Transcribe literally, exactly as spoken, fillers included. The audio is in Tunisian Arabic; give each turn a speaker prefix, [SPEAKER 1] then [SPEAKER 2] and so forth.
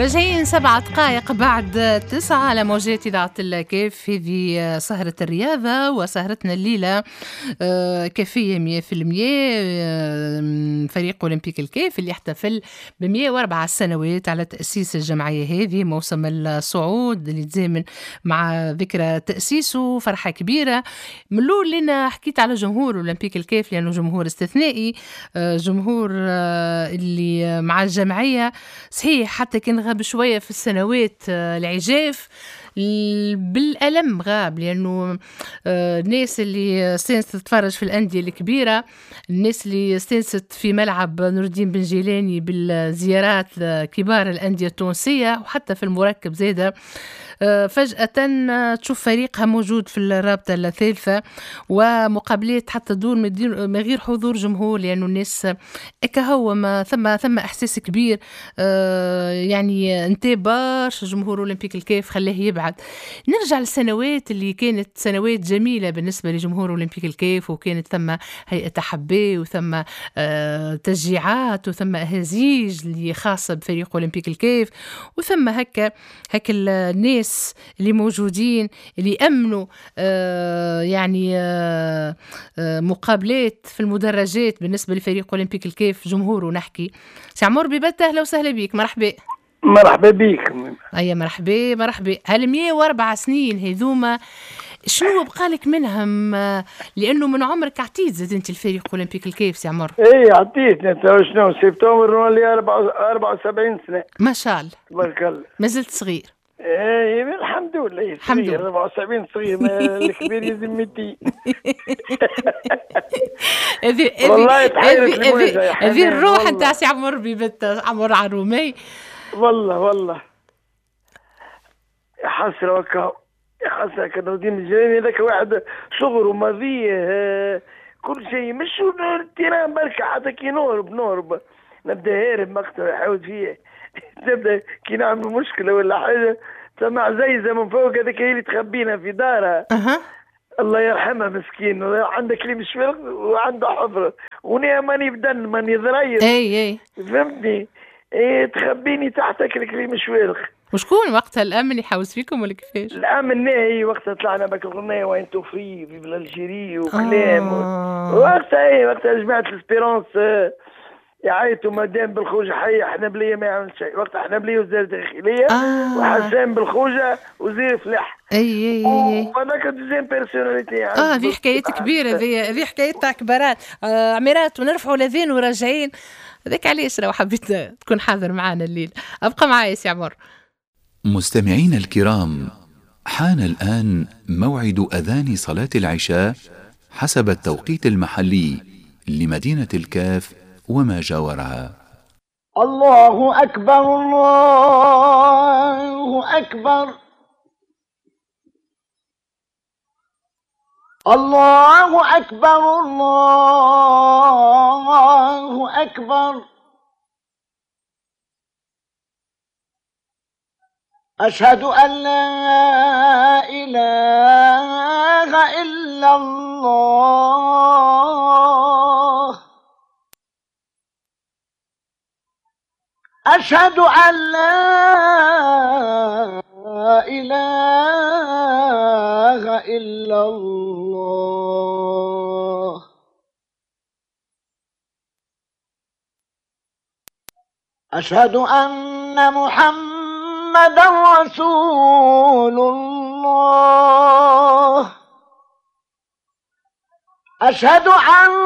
[SPEAKER 1] راجعين سبعة دقائق بعد تسعة على موجات إذاعة الكاف. هذه سهرة الرياضة وسهرتنا الليلة كافية مية في المية. فريق أولمبيك الكاف اللي احتفل بمية وأربعة سنوات على تأسيس الجمعية هذه، موسم الصعود اللي تزامن مع ذكرى تأسيسه، فرحة كبيرة. من الأول لنا حكيت على جمهور أولمبيك الكاف لأنه جمهور استثنائي، جمهور اللي مع الجمعية صحيح حتى كان غاب شوية في السنوات العجاف بالألم غاب، لأنه الناس اللي استانست تتفرج في الأندية الكبيرة، الناس اللي استانست في ملعب نور الدين بن جيلاني بالزيارات كبار الأندية التونسية وحتى في المركب زادة، فجأة تشوف فريقها موجود في الرابطة الثالثة ومقابلات حتى دون من غير حضور جمهور، لأنه الناس هو ما ثم ثم إحساس كبير يعني انتهى برشا جمهور أولمبيك الكاف خلاه يبعد. نرجع للسنوات اللي كانت سنوات جميلة بالنسبة لجمهور أولمبيك الكاف، وكانت ثم هيئة تحبي وثم تشجيعات وثم أهازيج اللي خاصة بفريق أولمبيك الكاف، وثم هكا هكا الناس اللي موجودين اللي أمنوا آه يعني آه آه مقابلات في المدرجات بالنسبة لفريق أولمبيك الكاف جمهوره. نحكي سي عمر بيبت، أهلا وسهلا بيك، مرحبا.
[SPEAKER 2] مرحبا بيك.
[SPEAKER 1] أيا مرحبا مرحبا. هال مية وأربعة سنين هذوما شنو بقالك منهم؟ لأنه من عمرك عطيت زاد أنت الفريق أولمبيك الكاف سي عمر.
[SPEAKER 2] إيه عطيت، أنت شنو سبتمبر نولي أربعة وسبعين سنة.
[SPEAKER 1] ما شاء الله
[SPEAKER 2] تبارك الله،
[SPEAKER 1] ما زلت صغير.
[SPEAKER 2] ايه الحمد لله، الحمد لله أربعة وسبعين صغير، الكبير يلزم ميتين.
[SPEAKER 1] هذه
[SPEAKER 2] والله تحيرت
[SPEAKER 1] هذه الروح نتاع سي عمر بيبت، عمر عرومي.
[SPEAKER 2] والله والله يا حسرة وكا يا حسرة، كان نور الدين الجيلاني هذاك واحد صغر وماضيه كل شيء، مش ال terrain بركة، حتى كي نهرب نهرب نبدا هارب مقتل يحاول فيه تبدا كي نعمل مشكلة ولا حاجة سمع زيزه من فوق هذيك هي اللي تخبينا في دارها.
[SPEAKER 1] أه.
[SPEAKER 2] الله يرحمها مسكين، عندها كليم شفيق وعنده حفره وني ماني بدن ماني ضرير.
[SPEAKER 1] اي اي
[SPEAKER 2] فهمتني، اي تخبيني تحت الكليم شويرخ.
[SPEAKER 1] وشكون وقتها الامن يحوس فيكم ولا كيفاش؟
[SPEAKER 2] الامن ناهي وقتها طلعنا بك الغنايه وين توفي في l'Algérie وكلام
[SPEAKER 1] آه.
[SPEAKER 2] وقتها اي وقتها جماعة l'Espérance يعيطوا مادام بالخوجة حي حنبلية ما يعمل شيء، وقت حنبلية وزير الداخلية
[SPEAKER 1] آه.
[SPEAKER 2] وحسان بالخوجة وزير فلاح.
[SPEAKER 1] اي اي اي
[SPEAKER 2] وهذاك deuxième personnalité.
[SPEAKER 1] اه هذه حكايات كبيرة، هذه هذه حكايات تاع كبارات آه عميرات ونرفعوا لذين وراجعين. هذاك علاش لو حبيت تكون حاضر معنا الليل ابقى معايا سي عمر.
[SPEAKER 3] مستمعينا الكرام، حان الآن موعد أذان صلاة العشاء حسب التوقيت المحلي لمدينة الكاف وما جاورها.
[SPEAKER 4] الله أكبر الله أكبر الله أكبر الله أكبر. أشهد أن لا إله إلا الله. أشهد أن لا إله إلا الله. أشهد أن محمدا رسول الله. أشهد أن